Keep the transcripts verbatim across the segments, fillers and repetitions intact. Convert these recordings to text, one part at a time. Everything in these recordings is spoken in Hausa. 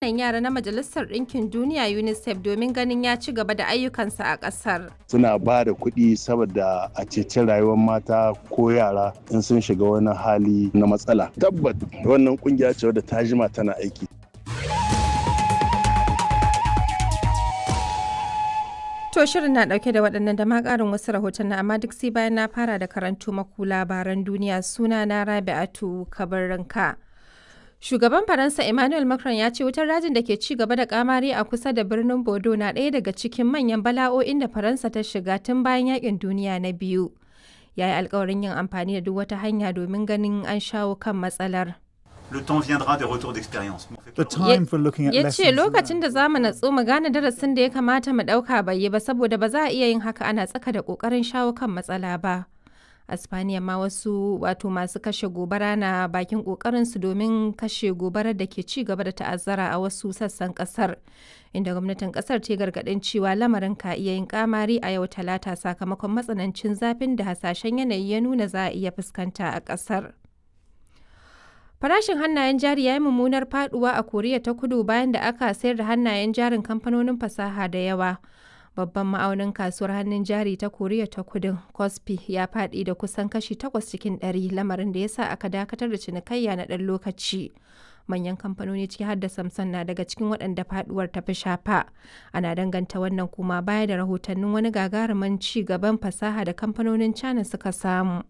Ƙananan Yara na Majalisar Ɗinkin Duniya (UNICEF) domin ganin ya ci gaba da ayyukansa a ƙasar. Suna ba da kuɗi saboda a ceci rayuwar mata ko yara in sun shiga wani hali na matsala. Tabbat wannan kungiya ce wadda ta jima tana aiki. To shirin na ɗauke da waɗannan da ma ƙarin wasu rahotanni, amma duk sai bayan na fara da karanto maku labaran duniya. Suna na Rabi'atu Kabarranka. Shugaban Faransa Emmanuel Macron ya ce wutar dajin da ke ci gaba da kamari a kusa da birnin Bordeaux na ɗaya daga cikin manyan bala'o'in da Faransa ta shiga tun bayan yakin duniya na biyu. Ya yi alkawarin yin amfani da duk wata hanya domin ganin an shawo kan matsalar. Le temps viendra des retours d'expérience. The time for looking at Ya ce lessons lokacin da za mu natsu mu gane darasin da ya kamata mu ɗauka bai yi ba, saboda ba za a iya yin haka ana tsaka da ƙoƙarin shawo kan matsala ba. A Spaniya ma wasu wato masu kashe gobara na bakin ƙoƙarinsu domin kashe gobarar da ke ci gaba da ta'azzara a wasu sassan ƙasar, inda gwamnatin ƙasar ta yi gargaɗin cewa lamarin ka iya yin kamari a yau Talata sakamakon matsanancin zafin da hasashen yanayi ya nuna za a iya fuskanta a ƙasar. Farashin hannayen jari ya yi mummunar faduwa a Koriya ta Kudu bayan da aka sayar da hannayen jarin kamfanonin fasaha da yawa. Babban ma'aunin kasuwar hannun jari ta Koriya ta Kudun, Kospi, ya faɗi da kusan kashi takwas cikin ɗari, lamarin da ya sa aka dakatar da cinikayya na ɗan lokaci. Manyan kamfanoni ciki har da Samsung na daga cikin waɗanda faduwar ta fi shafa. Ana danganta wannan kuma baya da rahotannin wani gagarumin ci gaban fasaha da kamfanonin China suka samu.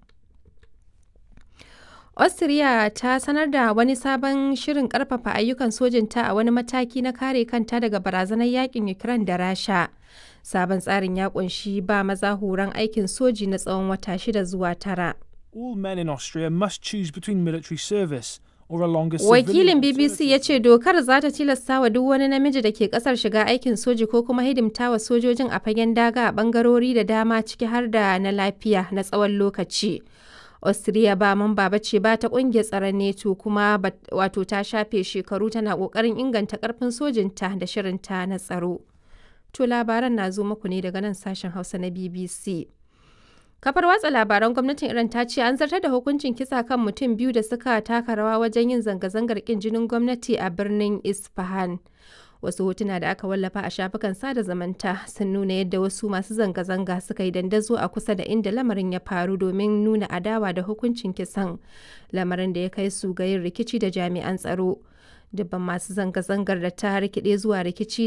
Austria ta sanar da wani sabon shirin karfafa ayyukan sojinta a wani mataki na kare kanta daga barazanar yakin Ukraine da Rasha. Sabon tsarin ya kunshi ba maza horon aikin soji na tsawon wata shida zuwa tara. All men in Austria must choose between military service or a longer Wakilin civilian B B C ya ce dokar za ta tilasta wa duk wani namiji da ke kasar shiga aikin soji ko kuma hidimta wa sojojin a fagen daga a bangarori da dama, ciki har da na lafiya, na tsawon lokaci. Austria ba mamba ba ce ba ta kungiyar tsaron NATO, kuma wato ta shafe shekaru tana kokarin inganta karfin sojinta da shirinta na tsaro. To labaran na zo muku ne daga nan sashen Hausa na B B C. Kafar watsa labaran gwamnatin Iran ta ce an zartar da hukuncin kisa kan mutum biyu da suka taka rawa wajen yin zanga-zangar kin jinin gwamnati a birnin Isfahan. Wasu hotuna da aka wallafa a shafukan sada zamanta sun nuna yadda wasu masu zanga-zanga suka yi dandazo a kusa da inda lamarin ya faru domin nuna adawa da hukuncin kisan, lamarin da ya kai su ga yin rikici da jami'an tsaro. Dubban masu zanga-zangar da ta rikide zuwa rikici